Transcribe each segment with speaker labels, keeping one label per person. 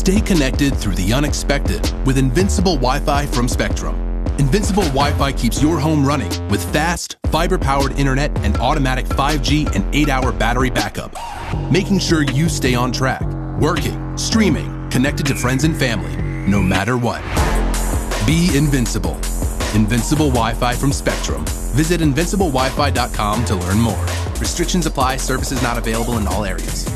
Speaker 1: Stay connected through the unexpected with Invincible Wi-Fi from Spectrum. Invincible Wi-Fi keeps your home running with fast, fiber-powered internet and automatic 5G and 8-hour battery backup, making sure you stay on track, working, streaming, connected to friends and family, no matter what. Be invincible. Invincible Wi-Fi from Spectrum. Visit invinciblewifi.com to learn more. Restrictions apply. Services not available in all areas.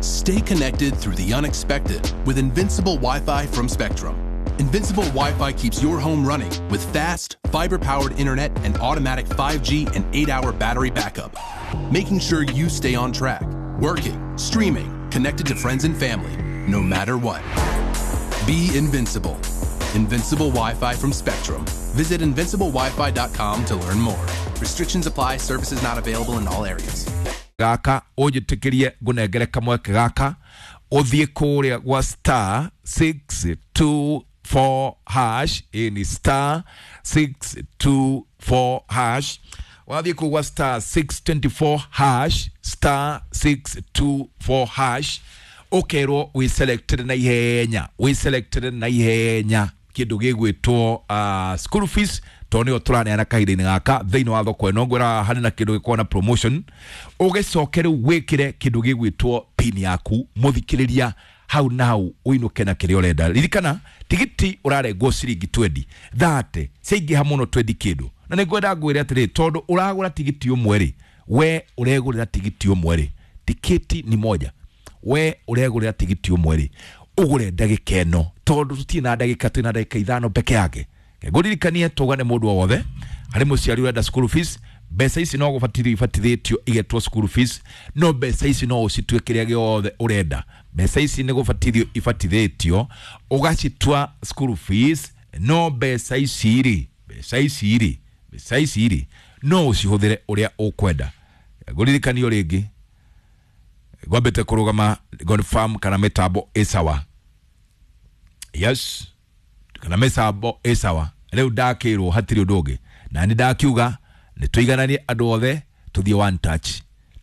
Speaker 1: Stay connected through the unexpected with Invincible Wi-Fi from Spectrum. Invincible Wi-Fi keeps your home running with fast, fiber-powered internet and automatic 5G and 8-hour battery backup, making sure you stay on track, working, streaming, connected to friends and family, no matter what. Be invincible. Invincible Wi-Fi from Spectrum. Visit invinciblewifi.com to learn more. Restrictions apply. Services not available in all areas.
Speaker 2: Gaka unjitikirie ngunengere kamweke gaka uthie kuria gwa star 624 hash. Ĩ ni star 624 hash. Wathie kuu gwa star 624 hash, star 624 hash, ukerwo wi selected na ihenya, wi selected na ihenya kindu gigwitwo school fees, tondũ nĩyo tũraneana kahinda-inĩ gaka thĩinĩ wa thoko ĩno. Ngwĩra harĩ na kĩndũ gĩkoragwo na promotion, ũgĩcoke rĩu wĩkĩre kĩndũ gĩgwĩtwo pin yaku mũthikĩrĩria, hau na hau ũinũke na kĩrĩa ũrenda. Ririkana tigiti ũrarengwo ciringi 20 30, ciaingĩha mũno 20 kĩndũ. Na nĩngwenda ngwĩre atĩrĩ, tondũ ũragũra tigiti ũmwe rĩ, we ũregũrĩra tigiti ũmwe rĩ, tiketi ni moja, we ũregũrĩra tigiti ũmwe rĩ, ũgũre ndagĩka ĩno, tondũ tũtirĩ na ndagĩka, twĩna ndagĩka 5 peke yake. Ngũririkanie tũgane mũndũ o wothe harĩ mũciari ũrenda school fees, mbeca ici no gũbatithio ibatithĩtio igetwo school fees, no mbeca ici no ũcitue kĩrĩa gĩothe ũrenda. Mbeca ici nĩ gũbatithio ibatithĩtio ũgacitua school fees, no mbeca ici rĩ, mbeca ici rĩ, mbeca ici rĩ, no ũcihũthĩre ũrĩa ũkwenda. Ngũririkanio rĩngĩ ngwambĩte kũrũgama confirm kana mĩtambo ĩ sawa. Yes, kana mĩtambo ĩ sawa. Rĩu ndakĩrwo hatirĩ ũndũ ũngĩ, na nĩ ndakiuga nĩ tũigananie andũ othe tũthiĩ one touch,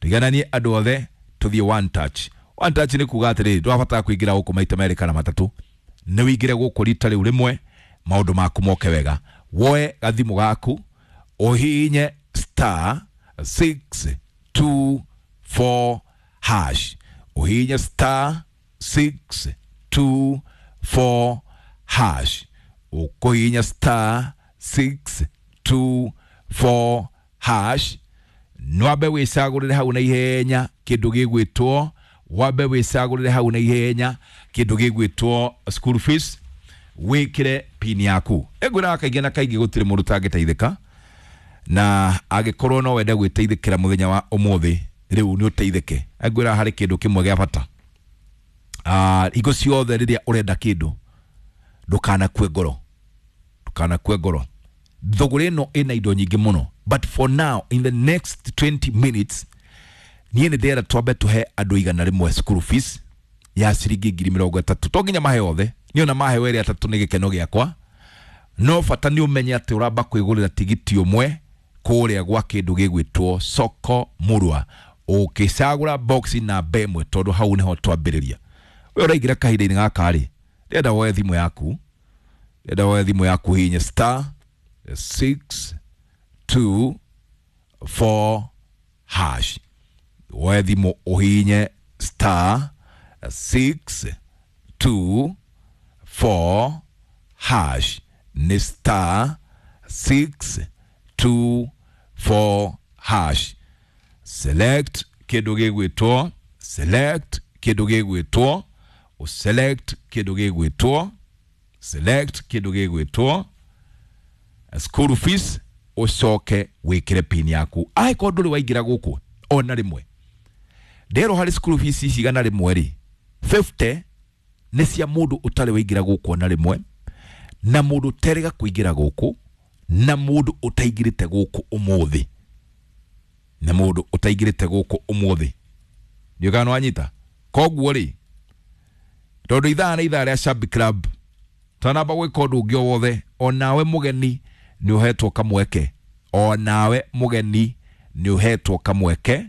Speaker 2: tũigananie andũ othe tũthiĩ one touch. One touch nĩ kuga atĩrĩrĩ, ndũrabatara kũingĩra gũkũ maita merĩ kana matatũ, nĩ wĩingĩre gũkũ rita rĩu rĩmwe, maũndũ maku moke wega. Woe gathimũ gaku ũhihinye star 624 hash, ũhihinye star 624 hash, ũkũhihinya star 624 hash, nwambe wĩcagũrĩre hau na ihenya kĩndũ gĩgwĩtwo, wambe wĩcagũrĩre hau na ihenya kĩndũ gĩgwĩtwo school fees, wĩkĩre pin yaku. Ĩngwĩraga kaingĩ na kaingĩ gũtirĩ mũndũ ũtangĩteithĩka, na angĩkorwo no wende gwĩteithĩkĩra mũthenya wa ũmũthĩ rĩu nĩ ũteithĩke. Ngwĩraga harĩ kĩndũ kĩmwe gĩa bata, hingo ciothe rĩrĩa ũrenda kĩndũ ndũkanakue ngoro, ndũkanakue ngoro. Thũgũrĩ ĩno ĩna indo nyingĩ mũno, but for now in the next 20 minutes niĩ nĩ ndĩrenda twambe tũhe andũ 100 school fees ya ciringi 30,000. To nginya mahe othe, niĩ ona maheo erĩ atatũ nĩ gĩkeno gĩakwa, no bata nĩ ũmenye atĩ ũramba kwĩgũrĩra tigiti ũmwe kũrĩa gwa kĩndũ gĩgwĩtwo soko murwa, ũkĩcagũra box namba ĩmwe, tondũ hau nĩho twambĩrĩria. We ũraingĩra kahinda-inĩ gaka rĩ, ndĩrenda woe thimũ yaku, ndĩrenda woe thimũ yaku hihinye star 624 hash, woe thimũ ũhihinye star 624 hash, nĩ star 624 hash. Select kĩndũ gĩgwĩtwo, select kĩndũ gĩgwĩtwo, select kĩndũ gĩgwĩtwo, select kĩndũ gĩgwĩtwo school fees, ũcoke wĩkĩre pin yaku. Angĩkorwo ndũrĩ waingĩra gũkũ ona rĩmwe, nderwo harĩ school fees ici 100 rĩ, 50 nĩ cia mũndũ ũtarĩ waingĩra gũkũ ona rĩmwe, na mũndũ ũterĩga kũingĩra gũkũ, na mũndũ ũtaingĩrĩte gũkũ ũmũthĩ, na mũndũ ũtaingĩrĩte gũkũ ũmũthĩ. Ndiũĩ kana nĩwanyita. Koguo rĩ, tondũ ithaa nĩ ithaa rĩa Shabby Club, twanamba gwĩka ũndũ ũngĩ o wothe, onawe mũgeni nĩ ũhetwo kamweke, onawe mũgeni nĩ ũhetwo kamweke.